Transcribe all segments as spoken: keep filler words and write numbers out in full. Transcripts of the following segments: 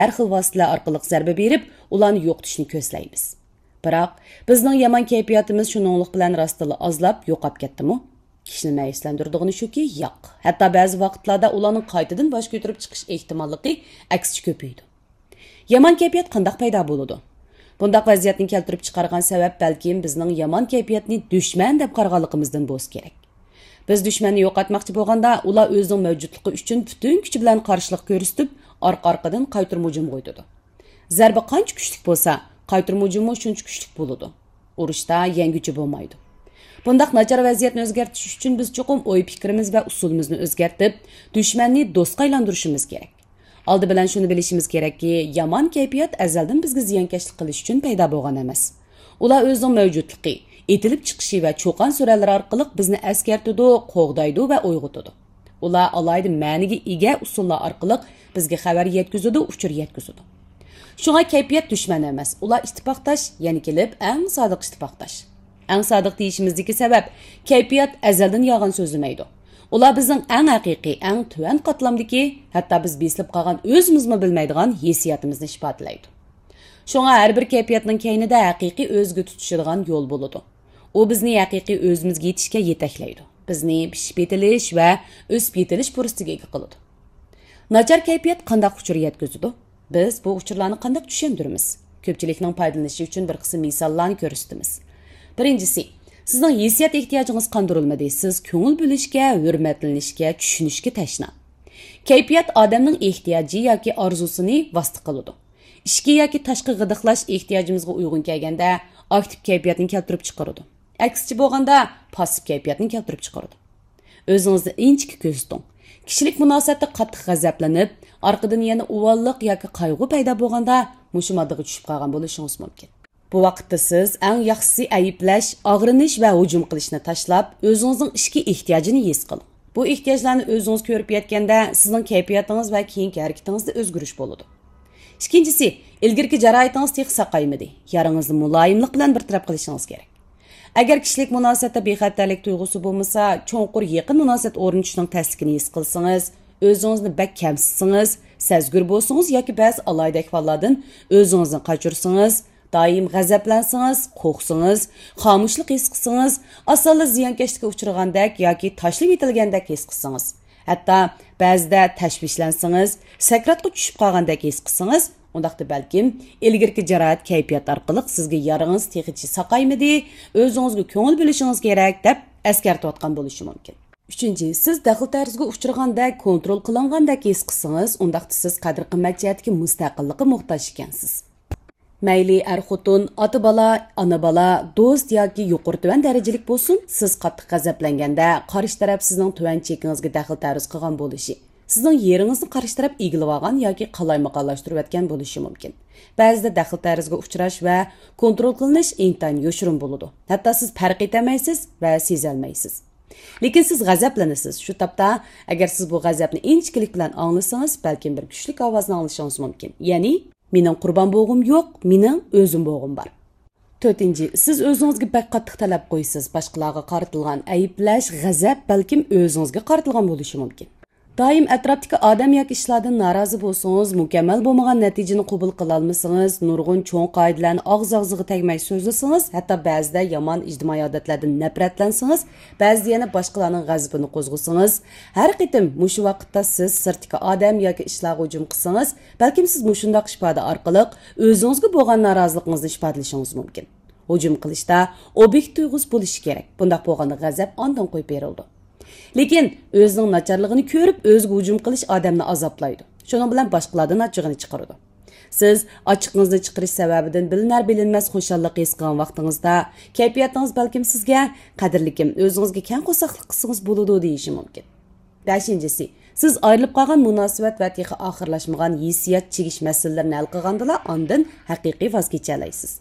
ھەر خىل ۋاسىتىلەر ئارقىلىق زەربە بېرىپ، ئۇلارنى يوقىتىشنى كۆزلەيمىز. بىراق، بىزنىڭ يامان كەيپىياتىمىز شۇنىڭلىق بىلەن راستتىنلا ئازلاپ، يوقاپ كەتتىمۇ؟ كىشىنى مەيۈسلەندۈرىدىغىنى شۇكى، ياق. ھەتتا بەزى ۋاقىتلاردا ئۇلارنىڭ قايتىدىن باش كۆتۈرۈپ چىقىش ئېھتىماللىقى ئەكسىچە كۆپىيىدۇ. يامان كەيپىيات قانداق پەيدا بولىدۇ؟ بۇنداق ۋەزىيەتنى كەلتۈرۈپ چىقارغان سەۋەب بەلكىم بىزنىڭ يامان كەيپىياتنى دۈشمەن دەپ قارىغانلىقىمىزدىن بولسا كېرەك. بىز دۈشمەننى يوقاتماقچى بولغاندا، ئۇلار ئۆزىنىڭ مەۋجۇتلۇقى ئۈچۈن پۈتۈن كۈچى بىلەن قارشىلىق كۆرسىتىپ، ئارقا-ئارقىدىن قايتۇرما ھۇجۇمغا ئۆتىدۇ. زەربە قانچە كۈچلۈك بولسا، قايتۇرما ھۇجۇممۇ شۇنچە كۈچلۈك بولىدۇ. ئۇرۇشتا يەڭگۈچى بولمايدۇ. بۇنداق ناچار ۋەزىيەتنى ئۆزگەرتىش ئۈچۈن بىز چوقۇم ئوي-پىكرىمىز ۋە ئۇسۇلىمىزنى ئۆزگەرتىپ، دۈشمەننى دوستقا ئايلاندۇرۇشىمىز كېرەك. ئالدى بىلەن شۇنى بىلىشىمىز كېرەككى، يامان كەيپىيات ئەزەلدىن بىزگە زىيانكەشلىك قىلىش ئۈچۈن پەيدا بولغان ئەمەس. ئۇلار ئۆزىنىڭ مەۋجۇتلۇقى، ئېتىلىپ چىقىشى ۋە چۇقان-سۈرەنلىرى ئارقىلىق بىزنى ئەسكەرتىدۇ، قوغدايدۇ ۋە ئويغىتىدۇ. ئۇلار ئالاھىدە مەنىگە ئىگە ئۇسۇللار ئارقىلىق بىزگە خەۋەر يەتكۈزىدۇ، ئۇچۇر يەتكۈزىدۇ. شۇڭا كەيپىيات دۈشمەن ئەمەس، ئۇلار ئىتتىپاقداش، يەنە كېلىپ ئەڭ سادىق ئىتتىپاقداش. ئەڭ سادىق دېيىشىمىزدىكى سەۋەب، كەيپىيات ئەزەلدىن يالغان سۆزلىمەيدۇ. ئۇلار بىزنىڭ ئەڭ ھەقىقىي، ئەڭ تۆۋەن قاتلامدىكى، ھەتتا بىز بېسىلىپ قالغان ئۆزىمىزمۇ بىلمەيدىغان ھېسسىياتىمىزنى ئىپادىلەيدۇ. شۇڭا ھەر بىر كەيپىياتنىڭ كەينىدە ھەقىقىي ئۆزىگە تۇتىشىدىغان يول بولىدۇ. ئۇ بىزنى ھەقىقىي ئۆزىمىزگە يېتىشكە يېتەكلەيدۇ. بىزنى پىشىپ يېتىلىش ۋە ئۆسۈپ يېتىلىش پۇرسىتىگە ئىگە قىلىدۇ. ناچار كەيپىيات قانداق ئۇچۇر يەتكۈزىدۇ؟ بىز بۇ ئۇچۇرلارنى قانداق چۈشەندۈرىمىز؟ كۆپچىلىكنىڭ پايدىلىنىشى ئۈچۈن بىر قىسىم مىساللارنى كۆرسىتىمىز. بىرىنچىسى، سىزنىڭ ھېسسىيات ئېھتىياجىڭىز قاندۇرۇلمىدى. سىز كۆڭۈل بۆلۈشكە، ھۆرمەتلىنىشكە، چۈشىنىشكە تەشنا. كەيپىيات ئادەمنىڭ ئېھتىياجى ياكى ئارزۇسىنى ۋاسىتە قىلىدۇ. ئىچكى ياكى تاشقى غىدىقلاش ئېھتىياجىمىزغا ئۇيغۇن كەلگەندە، ئاكتىپ كەيپىياتنى كەلتۈرۈپ چىقىرىدۇ. ئەكسىچە بولغاندا، پاسسىپ كەيپىياتنى كەلتۈرۈپ چىقىرىدۇ. ئۆزىڭىزنى ئىنچىكە كۆزىتىڭ. كىشىلىك مۇناسىۋەتتە قاتتىق غەزەپلىنىپ، ئارقىدىن يەنە ئۇۋاللىق ياكى قايغۇ پەيدا بولغاندا، مۇشۇ ماددىغا چۈشۈپ قالغان بولۇشىڭىز مۇمكىن. بۇ ۋاقىتتا سىز ئەڭ ياخشىسى ئەيىبلەش، ئاغرىنىش ۋە ھۇجۇم قىلىشنى تاشلاپ، ئۆزىڭىزنىڭ ئىچكى ئېھتىياجىنى ھېس قىلىڭ. بۇ ئېھتىياجلارنى ئۆزىڭىز كۆرۈپ يەتكەندە، سىزنىڭ كەيپىياتىڭىز ۋە كېيىنكى ھەرىكىتىڭىزدە ئۆزگىرىش بولىدۇ. ئىككىنچىسى، ئىلگىرىكى جاراھىتىڭىز تېخى ساقايمىدى. يارىڭىزنى مۇلايىملىق بىلەن بىر تەرەپ قىلىشىڭىز كېرەك. ئەگەر كىشىلىك مۇناسىۋەتتە بىخەتەرلىك تۇيغۇسى بولمىسا، چوڭقۇر يېقىن مۇناسىۋەت ئورنىتىشنىڭ تەسلىكىنى ھېس قىلسىڭىز، ئۆزىڭىزنى بەك كەمسىتسىڭىز، سەزگۈر بولسىڭىز ياكى بەزى ئالاھىدە ئەھۋاللاردىن ئۆزىڭىزنى قاچۇرسىڭىز، دائىم غەزەپلەنسىڭىز، قورقسىڭىز، خامۇشلۇق ھېس قىلسىڭىز، ئاسانلا زىيانكەشلىككە ئۇچرىغاندەك ياكى تاشلىۋېتىلگەندەك ھېس قىلسىڭىز، ھەتتا بەزىدە تەشۋىشلەنسىڭىز، سەكراتقا چۈشۈپ قالغاندەك ھېس قىلسىڭىز، ئۇنداقتا بەلكىم ئىلگىرىكى جاراھەت كەيپىيات ئارقىلىق سىزگە يارىڭىز تېخىچە ساقايمىدى، ئۆزىڭىزگە كۆڭۈل بۆلۈشىڭىز كېرەك، دەپ ئەسكەرتىۋاتقان بولۇشى مۇمكىن. ئۈچىنچى، سىز دەخلى-تەرۇزغا ئۇچرىغاندەك، كونترول قىلىنغاندەك ھېس قىلسىڭىز، ئۇنداقتا سىز قەدىر-قىممەت جەھەتتىكى مۇستەقىللىققا موھتاج ئىكەنسىز. مەيلى ئەر-خوتۇن، ئاتا-بالا، ئانا-بالا، دوست ياكى يۇقىرى-تۆۋەن دەرىجىلىك بولسۇن، سىز قاتتىق غەزەپلەنگەندە، قارشى تەرەپ سىزنىڭ تۆۋەن چېكىڭىزگە دەخلى-تەرۇز قىلغان بولۇشى، سىزنىڭ يېرىڭىزنى قارشى تەرەپ ئىگىلىۋالغان ياكى قالايمىقانلاشتۇرۇۋەتكەن بولۇشى مۇمكىن. بەزىدە دەخلى-تەرۇزغا ئۇچراش ۋە كونترول قىلىنىش ئىنتايىن يوشۇرۇن بولىدۇ. ھەتتا سىز پەرق ئېتەلمەيسىز ۋە سېزەلمەيسىز. لېكىن سىز غەزەپلىنىسىز. شۇ تاپتا، ئەگەر سىز بۇ غەزەپنى ئىنچىكىلىك بىلەن ئاڭلىسىڭىز، بەلكىم بىر كۈچلۈك ئاۋازنى ئاڭلىشىڭىز مۇمكىن. يەنى، «مېنىڭ قۇربان بولغۇم يوق، مېنىڭ ئۆزۈم بولغۇم بار.» تۆتىنچى، سىز ئۆزىڭىزگە بەك قاتتىق تەلەپ قويىسىز. باشقىلارغا قارىتىلغان ئەيىبلەش، غەزەپ بەلكىم ئۆزىڭىزگە قارىتىلغان بولۇشى مۇمكىن. دائىم ئەتراپتىكى ئادەم ياكى ئىشلاردىن نارازى بولسىڭىز، مۇكەممەل بولمىغان نەتىجىنى قوبۇل قىلالمىسىڭىز، نۇرغۇن چوڭ قائىدىلەرنى ئاغزى-ئاغزىغا تەگمەي سۆزلىسىڭىز، ھەتتا بەزىدە يامان ئىجتىمائىي ئادەتلەردىن نەپرەتلەنسىڭىز، بەزىدە يەنە باشقىلارنىڭ غەزىپىنى قوزغىسىڭىز، ھەر قېتىم مۇشۇ ۋاقىتتا سىز سىرتتىكى ئادەم ياكى ئىشلارغا ھۇجۇم قىلسىڭىز، بەلكىم سىز مۇشۇنداق ئىپادە ئارقىلىق ئۆزىڭىزگە بولغان نارازىلىقىڭىزنى ئىپادىلىشىڭىز مۇمكىن. ھۇجۇم قىلىشتا ئوبيېكت تۇيغۇسى بولۇشى كېرەك. بۇنداق بولغاندا غەزەپ ئاندىن قويۇپ بېرىلىدۇ. لېكىن ئۆزىنىڭ ناچارلىقىنى كۆرۈپ، ئۆزىگە ھۇجۇم قىلىش ئادەمنى ئازابلايدۇ. شۇنىڭ بىلەن باشقىلاردىن ئاچچىقىنى چىقىرىدۇ. سىز ئاچچىقىڭىزنى چىقىرىش سەۋەبىدىن بىلىنەر-بىلىنمەس خۇشاللىق ھېس قىلغان ۋاقتىڭىزدا، كەيپىياتىڭىز بەلكىم سىزگە، «قەدىرلىكىم، ئۆزىڭىزگە كەڭ قورساقلىق قىلسىڭىز بولىدۇ» دېيىشى مۇمكىن. بەشىنچىسى، سىز ئايرىلىپ قالغان مۇناسىۋەت ۋە تېخى ئاخىرلاشمىغان ھېسسىيات چىگىش مەسىلىلىرىنى ھەل قىلغاندىلا، ئاندىن ھەقىقىي ۋاز كېچەلەيسىز.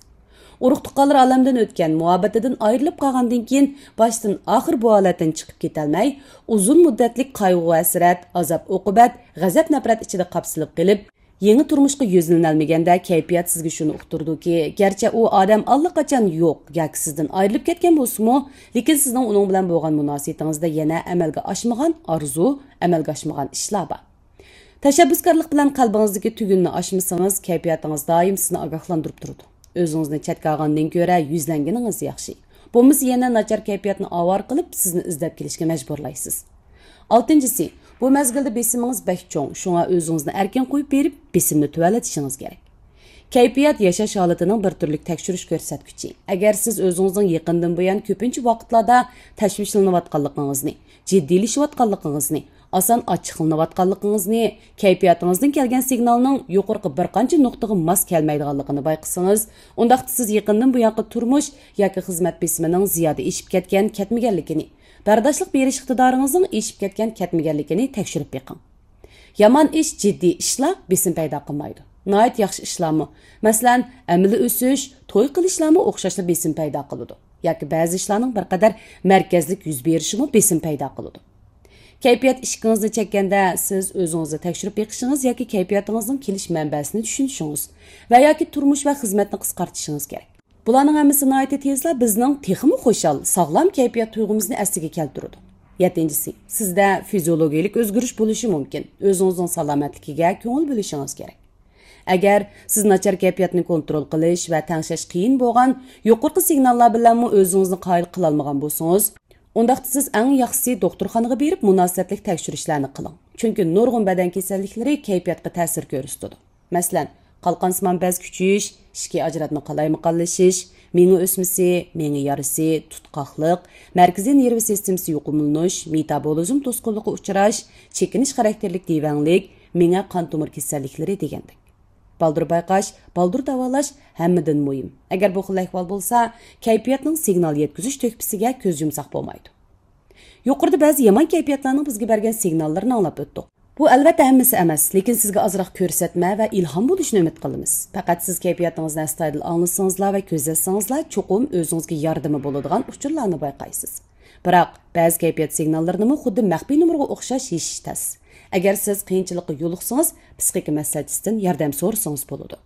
ئۇرۇق-تۇغقانلار ئالەمدىن ئۆتكەن، مۇھەببىتىدىن ئايرىلىپ قالغاندىن كېيىن، باشتىن ئاخىر بۇ ھالەتتىن چىقىپ كېتەلمەي، ئۇزۇن مۇددەتلىك قايغۇ-ھەسرەت، ئازاب-ئوقۇبەت، غەزەپ-نەپرەت ئىچىدە قاپسىلىپ قېلىپ، يېڭى تۇرمۇشقا يۈزلىنەلمىگەندە، كەيپىيات سىزگە شۇنى ئۇقتۇرىدۇكى، گەرچە ئۇ ئادەم ئاللىقاچان يوق ياكى سىزدىن ئايرىلىپ كەتكەن بولسىمۇ، لېكىن سىزنىڭ ئۇنىڭ بىلەن بولغان مۇناسىۋىتىڭىزدە يەنە ئەمەلگە ئاشمىغان ئارزۇ، ئەمەلگە ئاشمىغان ئىشلار بار. تەشەببۇسكارلىق بىلەن قەلبىڭىزدىكى تۈگۈننى ئاچمىسىڭىز، كەيپىياتىڭىز دائىم سىزنى ئاگاھلاندۇرۇپ تۇرىدۇ. ئۆزىڭىزنى چەتكە ئالغاندىن كۆرە يۈزلەنگىنىڭىز ياخشى. بولمىسا يەنە ناچار كەيپىياتنى ئاۋارە قىلىپ، سىزنى ئىزدەپ كېلىشكە مەجبۇرلايسىز. ئالتىنچىسى، بۇ مەزگىلدە بېسىمىڭىز بەك چوڭ، شۇڭا ئۆزىڭىزنى ئەركىن قويۇپ بېرىپ، بېسىمنى تۆۋەنلىتىشىڭىز كېرەك. كەيپىيات ياشاش ھالىتىنىڭ بىر تۈرلۈك تەكشۈرۈش كۆرسەتكۈچى. ئەگەر سىز ئۆزىڭىزنىڭ يېقىندىن بۇيان كۆپىنچە ۋاقىتلاردا تەشۋىشلىنىۋاتقانلىقىڭىزنى، جىددىيلىشىۋاتقانلىقىڭىزنى، ئاسان ئاچچىقلىنىۋاتقانلىقىڭىزنى، كەيپىياتىڭىزدىن كەلگەن سىگنالنىڭ يۇقىرىقى بىر قانچە نۇقتىغا ماس كەلمەيدىغانلىقىنى بايقىسىڭىز، ئۇنداقتا سىز يېقىندىن بۇيانقى تۇرمۇش ياكى خىزمەت بېسىمىنىڭ زىيادە ئېشىپ كەتكەن، كەتمىگەنلىكىنى، بەرداشلىق بېرىش ئىقتىدارىڭىزنىڭ ئېشىپ كەتكەن، كەتمىگەنلىكىنى تەكشۈرۈپ بېقىڭ. يامان ئىش، جىددىي ئىشلار بېسىم پەيدا قىلمايدۇ. ناھايىتى ياخشى ئىشلارمۇ، مەسىلەن، ئەمەلىي ئۆسۈش، توي قىلىشلارمۇ ئوخشاشلا بېسىم پەيدا قىلىدۇ. ياكى بەزى ئىشلارنىڭ بىر قەدەر مەركەزلىك يۈز بېرىشىمۇ بېسىم پەيدا قىلىدۇ. كەيپىيات ئىشىكىڭىزنى چەككەندە، سىز ئۆزىڭىزنى تەكشۈرۈپ بېقىشىڭىز ياكى كەيپىياتىڭىزنىڭ كېلىش مەنبەسىنى چۈشىنىشىڭىز ۋە ياكى تۇرمۇش ۋە خىزمەتنى قىسقارتىشىڭىز كېرەك. بۇلارنىڭ ھەممىسى ناھايىتى تېزلا بىزنىڭ تېخىمۇ خۇشال، ساغلام كەيپىيات تۇيغۇمىزنى ئەسلىگە كەلتۈرىدۇ. يەتتىنچىسى، سىزدە فىزىولوگىيىلىك ئۆزگىرىش بولۇشى مۇمكىن. ئۆزىڭىزنىڭ سالامەتلىكىگە كۆڭۈل بۆلۈشىڭىز كېرەك. ئەگەر سىز ناچار كەيپىياتنى كونترول قىلىش ۋە تەڭشەش قىيىن بولغان يۇقىرىقى سىگناللار بىلەنمۇ ئۆزىڭىزنى قايىل قىلالمىغان بولسىڭىز، ئۇنداقتا سىز ئەڭ ياخشىسى دوختۇرخانىغا بېرىپ مۇناسىۋەتلىك تەكشۈرۈشلەرنى قىلىڭ. چۈنكى نۇرغۇن بەدەن كېسەللىكلىرى كەيپىياتقا تەسىر كۆرسىتىدۇ. مەسىلەن، قالقانسىمان بەز كۈچىيىش، ئىچكى ئاجراتما قالايمىقانلىشىش، مېڭە ئۆسمىسى، مېڭە يارىسى، تۇتقاقلىق، مەركىزىي نېرۋا سىستېمىسى يۇقۇملىنىش، مېتابولىزم توسقۇنلۇقى ئۇچراش، چېكىنىش خاراكتېرلىك دېۋەڭلىك، مېڭە قان تومۇر كېسەللىكلىرى دېگەندەك. بالدۇر بايقاش، بالدۇر داۋالاش ھەممىدىن مۇھىم. ئەگەر بۇ خىل ئەھۋال بولسا، كەيپىياتنىڭ سىگنال يەتكۈزۈش تۆھپىسىگە كۆز يۇمساق بولمايدۇ. يۇقىرىدا بەزى يامان كەيپىياتلارنىڭ بىزگە بەرگەن سىگناللىرىنى ئاڭلاپ ئۆتتۇق. بۇ ئەلۋەتتە ھەممىسى ئەمەس، لېكىن سىزگە ئازراق كۆرسەتمە ۋە ئىلھام بولۇشىنى ئۈمىد قىلىمىز. پەقەت سىز كەيپىياتىڭىزنى ئەستايىدىل ئاڭلىسىڭىزلا ۋە كۆزەتسىڭىزلا، چوقۇم ئۆزىڭىزگە ياردىمى بولىدىغان ئۇچۇرلارنى بايقايسىز. بىراق، بەزى كەيپىيات سىگناللىرىنىمۇ خۇددى مەخپىي نومۇرغا ئوخشاش يېشىش تەس. ئەگەر سىز قىيىنچىلىققا يولۇقسىڭىز، پسىخىكا مەسلىھەتچىسىدىن ياردەم سورىسىڭىز بولىدۇ.